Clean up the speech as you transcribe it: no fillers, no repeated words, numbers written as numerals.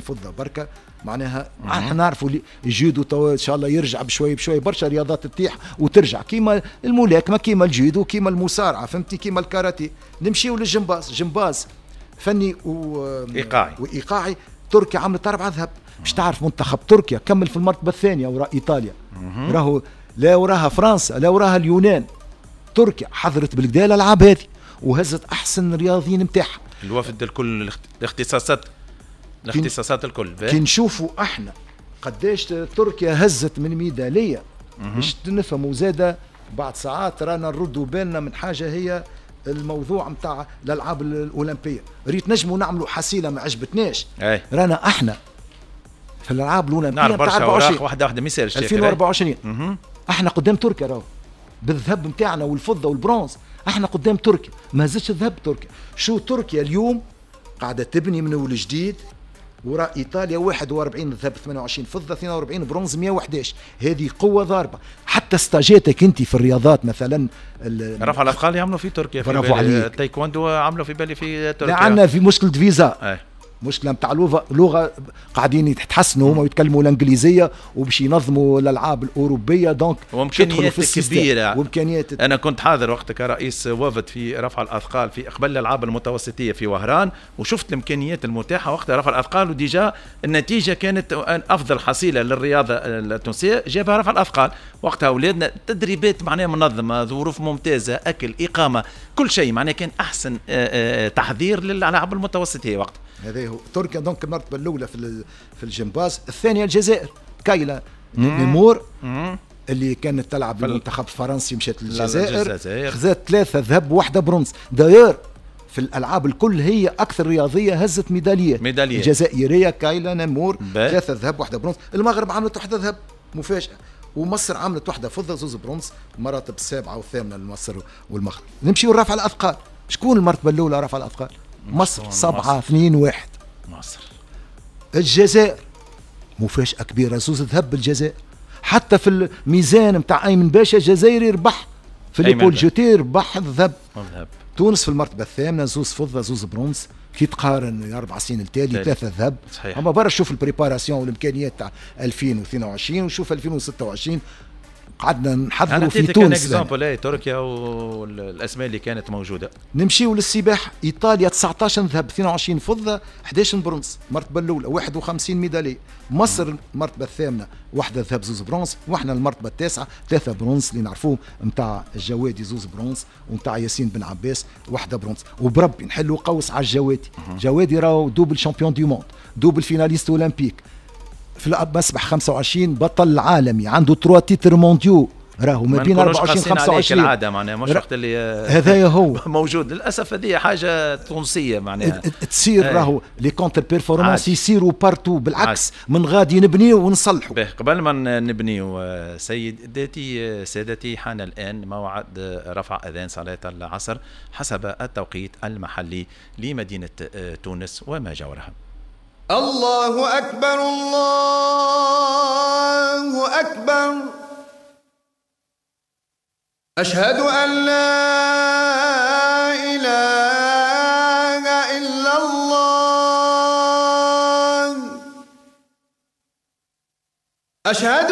فضة بركة. معناها احنا نعرفوا الجودو تو ان شاء الله يرجع بشوي بشوي، برشا رياضات تتيح وترجع، كيما الملاكمة، كيما الجودو، كيما المصارعة، فهمتي، كيما الكاراتيه. نمشيو للجمباز، جمباز فني وايقاعي. وايقاعي تركيا عملت 4 ذهب. باش تعرف منتخب تركيا كمل في المرتبة الثانية وراء ايطاليا، راهو لا وراها فرنسا لا وراها اليونان. تركيا حضرت بالكدا الالعاب هذه وهزت احسن رياضيين نتاعها. الوفد الكل، الاختصاصات الكل. كي نشوفوا احنا قداش تركيا هزت من ميدالية باش نفهموا زاده بعد ساعات رانا نردوا بالنا من حاجة، هي الموضوع نتاع الالعاب الاولمبية. ريت نجموا نعملوا حصيله ما عجبتناش، رانا احنا في الالعاب الاولمبية نتاع 24 واحدة واحدة ما يسالش 2024 احنا قدام تركيا، راهو بالذهب نتاعنا والفضة والبرونز احنا قدام تركيا، ما هزتش الذهب تركيا. شو تركيا اليوم قاعدة تبني من اول جديد وراء ايطاليا، 41 ذهب، 28 فضة، 42 برونز، 111. هذه قوة ضاربه. حتى ستاجاتك انت في الرياضات مثلا رفع الاثقال يعملوا في تركيا، برافو عليك. التايكوندو عملوا في بالي في تركيا. لا عندنا في مشكلة فيزا، مشكلة نتاع لغة قاعدين يتحسنوا هما ويتكلموا الانجليزية وباش ينظموا الالعاب الاوروبية، donc وامكانيات كبيرة وامكانيات. انا كنت حاضر وقت كرئيس وفد في رفع الاثقال في قبل الالعاب المتوسطيه في وهران، وشفت الامكانيات المتاحة وقت رفع الاثقال، و déjà النتيجة كانت افضل حصيله للرياضة التونسية جابها رفع الاثقال وقتها. اولادنا تدريبات معناها منظمة، ظروف ممتازة، اكل، اقامه، كل شيء، معناها كان احسن تحضير للالعاب المتوسطيه وقتها. هذا هو تركيا donc المرتبة الاولى في الجمباز. الثانية الجزائر، كايلا نيمور اللي كانت تلعب بالمنتخب الفرنسي مشات للجزائر، خذت 3 ذهب وواحدة برونز. d'ailleurs في الالعاب الكل هي اكثر رياضية هزت ميداليات. الجزائرية كايلا نيمور 3 ذهب واحدة برونز. المغرب عملت 1 ذهب مفاجاة، ومصر عملت 1 فضة 2 برونز، مراتب السابعة والثامنه لمصر والمغرب. نمشيو لرفع الاثقال، شكون المرتبة الاولى رفع الاثقال؟ مصر 7 2 1. مصر. الجزائر مفاجأة كبيرة، 2 ذهب الجزائر. حتى في الميزان نتاع أيمن باشا الجزائري ربح في l'épaulé jeté، ربح الذهب. تونس في المرتبة الثامنة، 2 فضة 2 برونز. كي تقارن 4 سنين التالي 3 ذهب. صحيح. أما برا شوف ال préparation والإمكانيات تاع 2022 وشوف 2026، قعدنا نحضروا في تونس. exemple تركيا والاسماء اللي كانت موجودة. نمشيو للسباحه، ايطاليا 19 ذهب، 22 فضة، 11 برونز، المرتبة الاولى 51 ميدالية. مصر المرتبة الثامنة، 1 ذهب 2 برونز، واحنا المرتبة التاسعة 3 برونز اللي نعرفوه نتاع الجوادي 2 برونز ونتاع ياسين بن عباس 1 برونز. وبربي نحلوا قوس على الجوادي، جوادي راهو double champion du monde، double finaliste olympique، في المسبح 25 بطل عالمي، عنده 3 titres mondiaux، راهو ما بين 24 25 العادة معناها مش وقت اللي هذايا هو موجود. للاسف هذه حاجة تونسية معناها تصير، راهو les contre-performances يصيروا partout، بالعكس عاد. من غادي نبنيو ونصلحوا. قبل ما نبنيو سيداتي سادتي، حان الان موعد رفع اذان صلاة العصر حسب التوقيت المحلي لمدينة تونس وما جاورها. الله أكبر الله أكبر، أشهد أن لا إله إلا الله، أشهد